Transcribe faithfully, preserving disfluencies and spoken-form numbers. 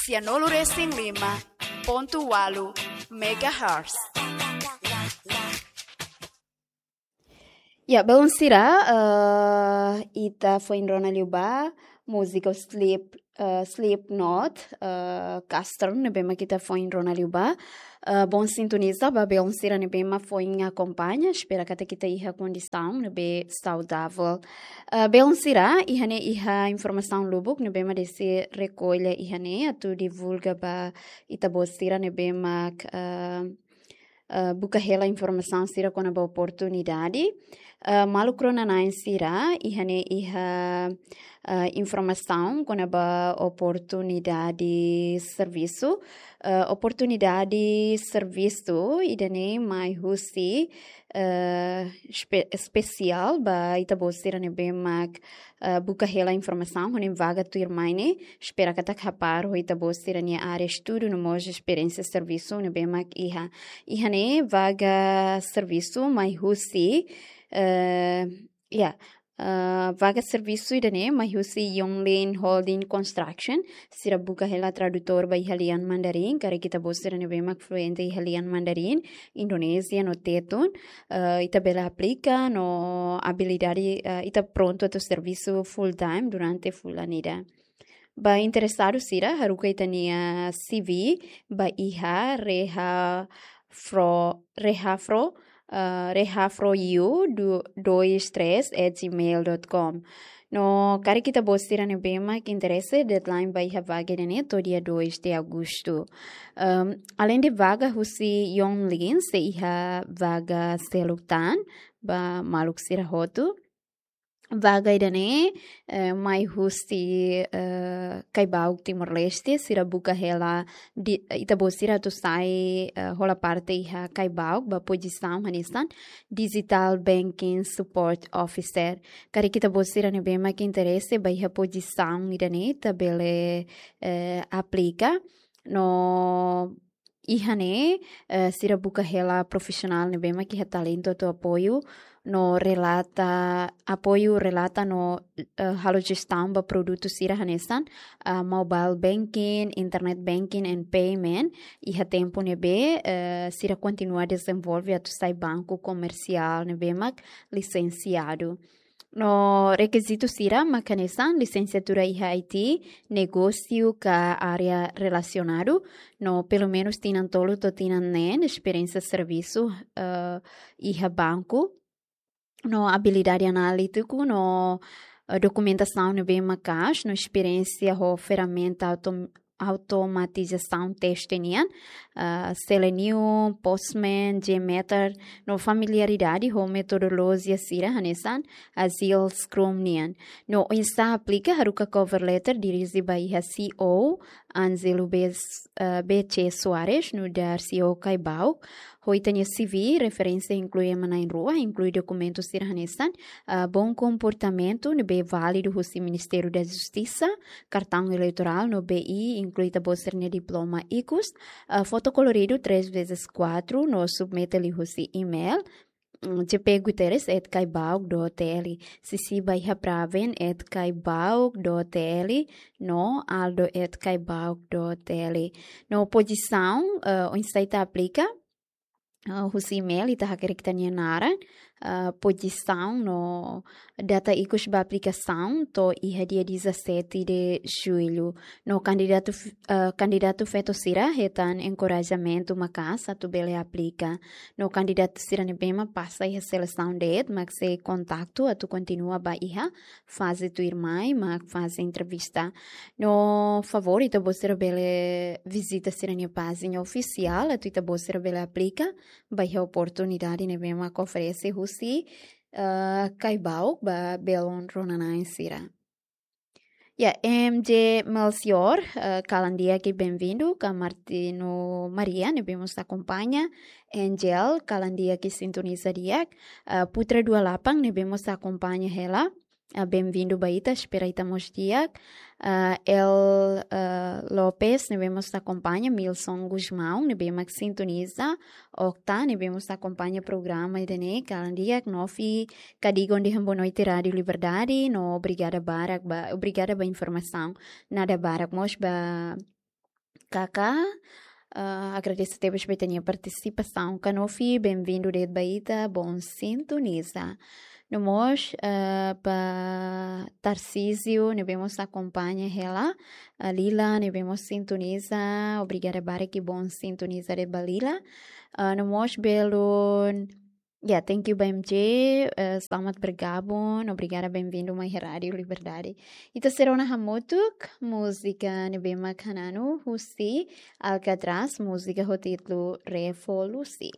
tianulu resin lima pontu ualu megahertz. Ya, belun sira, eh, ita foin rona liu ba múzika Sleep, eh, Slipknot, eh, Castern, ne'ebé mak ita foin rona liu ba. Eh, bom sintoniza ba belun sira ne'ebé mak foin akompaña, espera katak ita iha kondisaun ne'ebé saudavel. Eh, belun sira, iha ne'e iha informasaun lubuk ne'ebé mak deside rekolla iha ne'e atu divulga ba ita-boot sira ne'ebé mak, eh, eh, buka hela informasaun sira kona-ba oportunidade. Eh, maluk rona-na'in sira, iha ne'e iha, eh, informasaun kona-ba oportunidade servisu. Eh, oportunidade servisu ida-ne'e mai husi, eh, espe-, espesiál ba ita-boot sira ne'ebé mak, eh, buka hela informasaun, ho nia vaga tuirmai ne'e, espera katak hapar ho ita-boot sira-nia área estudu no mós esperiénsia servisu ne'ebé mak iha. Iha ne'e vaga servisu mai husi, eh, ya, eh, vaga servisu ida-ne'e mai husi Yonglin Holding Construction, sira buka hela tradutór ba iha lian Mandarin, karik ita-boot sira ne'ebé mak fluente iha lian Mandarin, Indonézia no Tetun, eh, ita bele aplika no abilidade, eh, ita prontu atu servisu full time durante fulan ida. Ba interesadu sira, haruka ita-nia C V ba iha Rehafro, Rehafro, eh, rehafrou do, dois três at gmail dot com. No karik ita-boot sira ne'ebé mak interese, deadline ba iha vaga ida-ne'e to'o dia dois de agosto. Ehm, além de vaga husi Yonglin, sei iha vaga seluk tan ba maluk sira hotu. Vaga ida-ne'e, eh, mai husi, eh, Caibauk Timor-Leste, sira buka hela di, ita-boot sira atu sai, eh, hola parte iha Caibauk, ba pozisaun hanesan Digital Banking Support Officer. Karik ita-boot sira ne'ebé mak interese ba iha pozisaun ida-ne'e, ita bele, eh, aplika. No iha ne'e, eh, sira buka hela profisionál ne'ebé mak iha talentu atu apoiu no relata, apoiu relata no, eh, halo jestaun ba produtu sira hanesan, ah, mobile banking, internet banking and payment, iha tempu ne'ebé, eh, sira kontinua dezenvolve atu sai banku komersiál ne'ebé mak lisensiadu. No rekizitu sira mak hanesan lisensiatura iha I T, negósiu ka área relasionadu, no pelumenus tinan tolu to'o tinan neen esperiénsia servisu, eh, iha banku, no abilidade analítiku, no, eh, dokumentasaun ne'ebé maka'as, no esperiénsia ho ferramenta autom-, automatizasaun teste nian, ah, Selenium, Postman, JMeter, no familiaridade ho metodolojia sira hanesan Agile Scrum nian. No oinsá aplika, haruka cover letter dirije ba iha C E O Angelo B, eh, B C Soares, nu'udar C E O Caibauk. Ho ita-nia C V, referénsia inklui ema na'in-rua, inklui dokumentu sira hanesan, ah, bom comportamento, ne'ebé válidu husi Ministériu da Justisa, kartaun eleitorál no B I, inklui ita-boot sira-nia diploma ikus, ah, foto koloridu três vezes quatro, no submete liuhusi email, mm, J P Guterres at caibauk dot T L. Sisi ba iha praven at caibauk dot T L, no aldo at caibauk dot T L. No pozisaun, eh, oinsá ita aplika, eh, husi email ita hakerek ita-nia naran, eh, pozisaun no data ikus ba aplikasaun to'o iha dia dezassete de julho. No kandidatu f-, eh, kandidatu feto sira hetan enkorajamentu maka'as atu bele aplika. No kandidatu sira ne'ebé mak pasa iha selesaun de'it mak sei kontaktu atu kontinua ba iha faze tuirmai, mak faze entrevista. No favór, ita-boot sira bele vizita sira-nia pájina ofisiál, atu ita-boot sira bele aplika ba iha oportunidade ne'ebé mak oferese husi, eh, Caibauk ba belun rona-na'in sira. Ya, M J Melchior, eh, kalan di'ak i benvindu, ka Martino Maria, ne'ebé mós akompaña, Angel, kalan di'ak i sintoniza di'ak, eh, Putra Dua Lapang, ne'ebé mós akompaña hela, eh, benvindu ba ita, espera ita mós di'ak, eh, El, eh, Lopes, ne'ebé mós akompaña, Milson Gusmão, ne'ebé mak sintoniza, Okta, ne'ebé mós akompaña programa ida-ne'e, kalan di'ak, Novi, Kadigon dehan boa noite Rádio Liberdade, no obrigada barak ba, obrigada ba informasaun. Nada barak mós ba Kaká, ah, agradese tebes ba ita-nia partisipasaun. Kanofi, benvindu de'it ba ita, bon sintoniza. No mós, ah, ba Tarcísio, ne'ebé mós akompaña hela, ah, Lila, ne'ebé mós sintoniza, obrigada barak, bon sintoniza de'it ba Lila. Ah, no mós belun, ya, thank you ba M J, eh, selamat bergabung, obrigada, benvindu mai Rádiu Liberdade. Ita sei rona hamutuk múzika ne'ebé mak hananu husi Alcatraz, múzika ho títulu Revolusi.